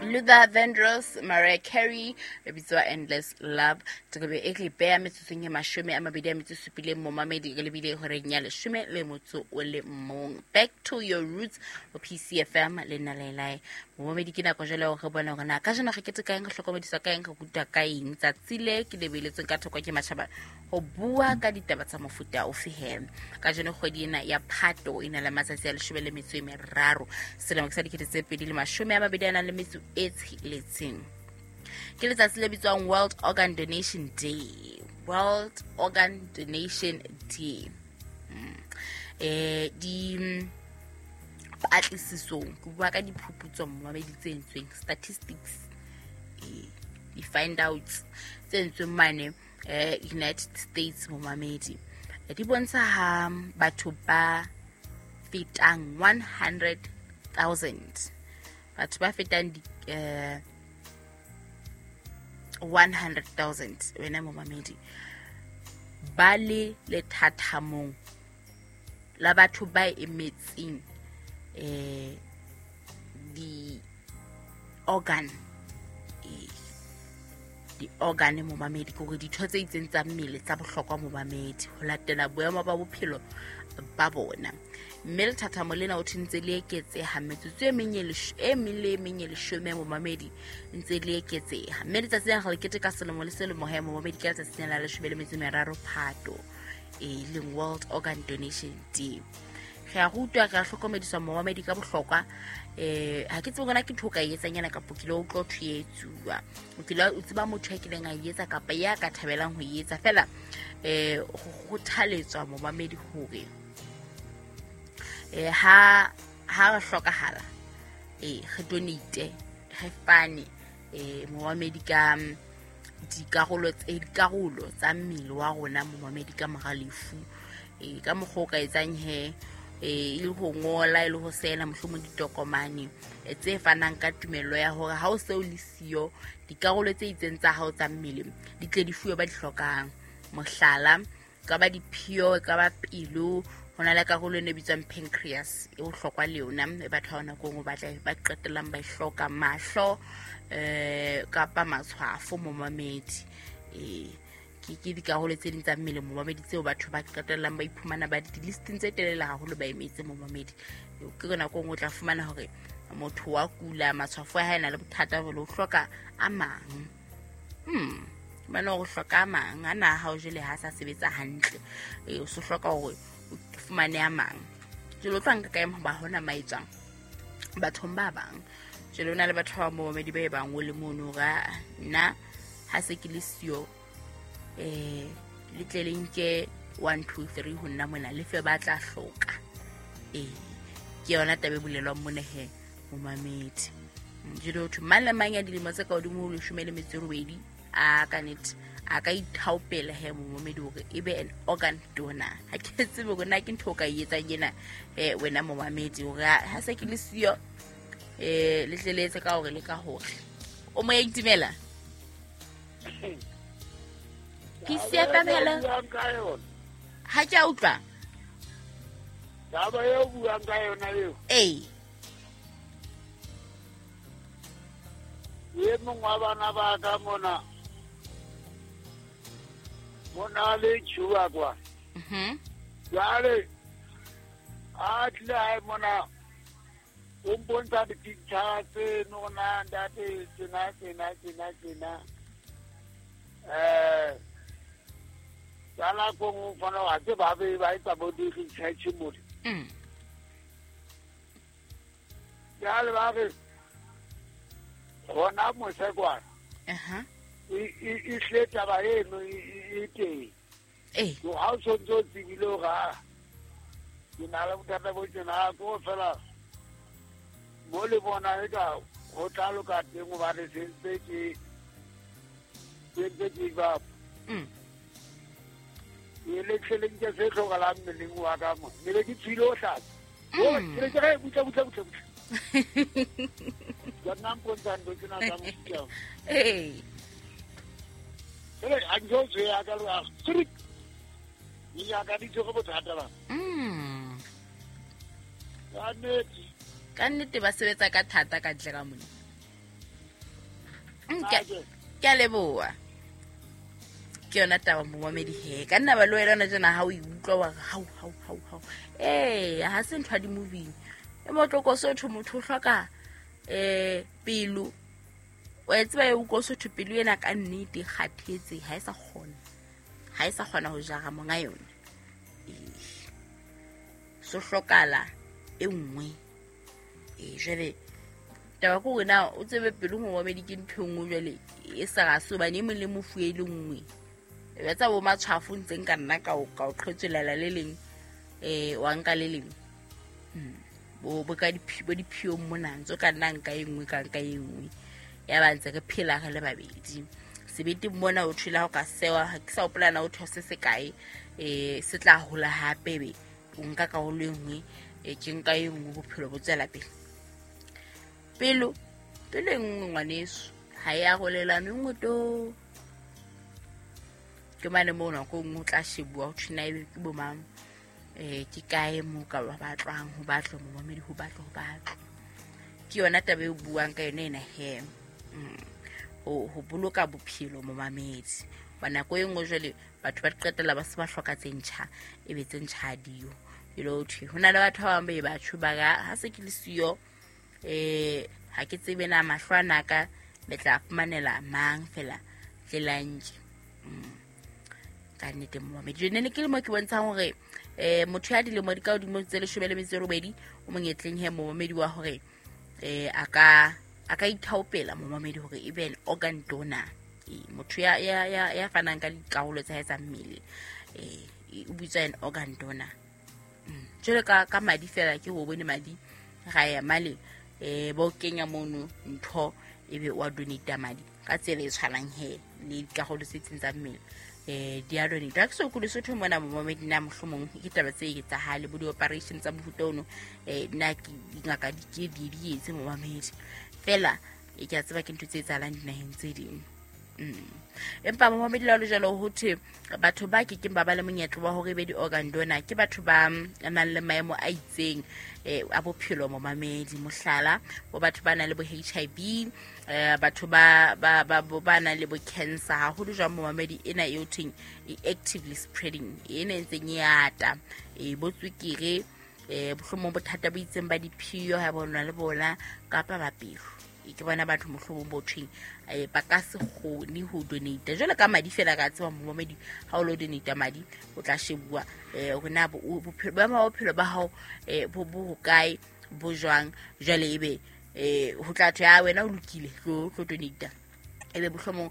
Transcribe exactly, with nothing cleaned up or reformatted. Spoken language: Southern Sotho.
Luther Vandross, Mariah Carey, e bitswa Endless Love. Tsobe e re beha metsotsong e mashome a mabedi a metso e supileng momamedi re lebile horeng ya leshome le motso o le mong. Back to your roots ho P C F M le nna Lelai. Momamedi ke nako jwale hore re bone hore na kajeno re keteka eng, re hlokomediswa ka eng, re rutwa ka eng. Tsatsi le ke le beletsweng ka thoko ke matjhaba ho bua ka ditaba tsa mofuta ofe he. Kajeno kgwedi ena ya Phato e na le matsatsi a leshome le metso e meraro. Selemo ke sa dikete tse pedi le mashome a mabedi a nang le metso e tsheletseng. Ke letsatsi le bitswang World Organ Donation Day. World Organ Donation Day. Mm. Eh, di patlisisong, ke bua ka diphuputso momamedi tse entsweng, statistics, eh, di find outs tse entsweng mane, eh, United States momamedi. Di bontsha ha batho ba fetang one hundred thousand, batho ba fetang di, eh, one hundred thousand wena momamedi ba le lethathamong la batho ba emetseng, eh, di organ, eh, di organ momamedi, ke hore ditho tse itseng tsa mmele tsa bohlokwa momamedi ho latela boemo ba bophelo ba bona. Mme lethathamo lena o ntse le eketseha metsotso e meng e lesh-, e meng le e meng e leshome momamedi ntse le eketseha. Mme letsatsi lena re le keteka selemo le selemo he momamedi ke letsatsi lena la leshome le metso e meraro Phato, e leng World Organ Donation Day. Re a rutwa, re a hlokomediswa momamedi ka bohlokwa. Eh, ha ke tsebe hore na ke ntho o ka e etsang yana kapa o kile wa utlwa ho thwe e etsuwa. O kile wa tseba motho ya kileng a e etsa kapa ya ka thabelang ho e etsa. Feela, eh, ho kgothaletswa momamedi hore, eh, ha, ha re hlokahala, eh, re donate, re fane, eh, momamedi ka dikarolo tse, dikarolo tsa mmele wa rona momamedi ka mora lefu. Eh, ka mokgwa o ka etsang he, eh, e le ho ngola, e le ho saena mohlomong ditokomane, eh, tse fanang ka tumello ya hore ha o se o le siyo, dikarolo tse itseng tsa hao tsa mmele di tle di fuwe ba di hlokang. Mohlala, e ka ba diphio, e ka ba pelo, ho na le karolo e bitswang pancreas e bohlokwa le yona, e batho ba nako e nngwe ba tla ba qetellang ba e hloka, mahlo, eh, kapa matshwafo momamedi. Eh, ke, ke dikarolo tse ding tsa mmele momamedi tseo batho ba qetellang ba iphumana ba di-listing tse telele haholo ba emetse momamedi. Ke nako e nngwe o tla fumana hore motho wa kula, matshwafo a hae a na le bothata bo le o hloka a mang. Hmm. Bana o hloka a mang, a na ha o jele ha sa sebetsa hantle. Eh, o se hloka hore o fumane a mang. Jwale o tla nka kae hoba hona maetswang bathong ba bang. Jwale ho na le batho ba momamedi ba e bang o le mono hore, ah, nna ha se ke le siyo, eh, le tle le nke one, two, three ho nna mona, le fe ba tla hloka. Eh, ke yona taba e bolelwang mona he, momamedi. Jwale ho thwe mang le mang ya dilemo tse ka hodimo ho leshome le metso e robedi, a ka nnete, a ka ithaopela he momamedi hore e be an organ donor. Ha ke tsebe hore na ke ntho o ka e etsang ena, eh, wena momamedi, hore ha, ha se ke le siyo, eh, le tle le etse ka hore le ka hore. O moya itumela? P C F M, hello. Ha ke a utlwa. Taba eo buang ka yona eo. Ee. E mong wa bana ba ka mona. Mona le tjhuwa kwa. Mhm. Jwale, a tlile hae mona, o mpontsha di-picture tse nona, ntate, tjena, tjena, tjena, tjena. Eh, ka nako e nngwe o fana wa tseba ba be ba etsa bo di-research mole. Mm. Jwale ba re, hona mose kwana. Aha. E, e, e hle taba eno e, e, e teng. Eh. So, ha o sontso o tsebile hore, ah, ke na le bothata bo tjena, ha ke ho fela mo le bona eka ho tla loka teng hobane se ntse ke, se ntse ke ba. Mm. Ke le tle le nke se hlokahalang mmeleng wa ka mo. Ne be ke tswile ho hlatsa. Oh, Mm. ke ne ke re, butle, butle, butle, butle. Ke nna mpontsha ntho tsena tsa mofuta o. Ee. Jwale, ha ke so tswe ya ka le ha, trik. Dingaka di tshwere bothata ba. Mm. Ka nnete. Ka nnete ba sebetsa ka thata ka ntle ka mona. Mm, ke a leboha. Ke yona taba momamedi he. Ka nna ba le wena hona tjena ha o e utlwa wa re hau hau hau hau. Ee, ha se ntho ya di-movie. E motloko Sotho motho o hloka eh pelo. Wa e tseba e utlwa Sotho pelo ena ka nnete e kgathetse ha e sa kgona. Ha e sa kgona ho jara monga yona. Ee. So hlokala e nngwe. Ee, jwale taba ke hore na o tsebe pelo momamedi ke ntho e nngwe jwale e sa rase hobane e mong le mofu e le nngwe. E tsa bo matshwafo ntse nka nna ka o ka o qhwetswelela le leng eh wa nka le leng. Mm. Bo bo ka diphi bo diphiong mona ntse ka nna nka e nngwe ka nka e nngwe. Ya ba ntse re phela re le babedi. Sebete mona o thula ho ka sewa ha ke sa hopola na o those se kae eh se tla hola hape be o nka karolo e nngwe e ke nka e nngwe bophelo bo tswela pele. Pelo pelo e nngwe ngwaneso ha ya arolelana nngwe to. Ke mane moo nako e nngwe o tla shebuwa ho thwe na ebe ke bo mang eh ke kae moo ka ba batlwang ho batlwe momamedi ho batlwe ho batlwe. Ke yona taba e o buang ka yona ena he. Mm. Ho ho boloka bophelo momamedi. Ba nako e nngwe jwale batho ba qetella ba se ba hloka tse ntjha ebe tse ntjha ha diyo. E le ho thwe ho na le batho ba bang ba e batho ba ka ha se ke le siyo eh ha ke tsebe na mahlo ana ka le tla fumanela mang fela tlelang. Mm. Ka nnete momamedi. Jwale ne ke le mo ke bontshang hore eh motho ya dilemo di ka hodimo tse leshome le metso e robedi o monyetleng he momamedi wa hore eh a ka a ka ithaopela momamedi hore e be an organ donor. E motho ya ya ya ya fanang ka dikarolo tsa hae tsa mmele eh o bitswa an organ donor. Mm. Jwale ka ka madi fela ke ho bone madi ra ya male eh ba o kenya mono ntho ebe wa donate madi ka tsela e tshwanang he le dikarolo tse itseng tsa mmele. Eh di a donate. Ha ke so kule Sotho mona momamedi na mohlomong ke taba tse etsahale bo di-operation tsa mofuta ono eh nna ke dingaka di ke di di etse momamedi. Fela e ke a tseba ke ntho tse etsahalang dinaheng tse ding. Mm. Empa momamedi la jwalo ho thwe batho ba ke keng ba ba le monyetla wa hore be di-organ donor ke batho ba nang le maemo a itseng eh a bophelo momamedi. Mohlala bo batho ba nang le bo H I V eh batho ba ba ba ba nang le bo cancer haholo jwang momamedi ena e o thweng e actively spreading ena e ntseng e ata e bo tswekere eh bohlomong bothata bo itseng ba diphio ha bona le bona kapa ba pelo. Ke bona batho mohlomong bo thweng eh ba ka se kgone ho donate. Jwale ka madi fela ka tseba momamedi ha o lo donate madi o tla shebuwa eh hore na bophelo ba bophelo ba hao eh bo bo hokae bo jwang. Jwale ebe eh ho tla thwe a wena o lokile tlo tlo donate ebe bohlomong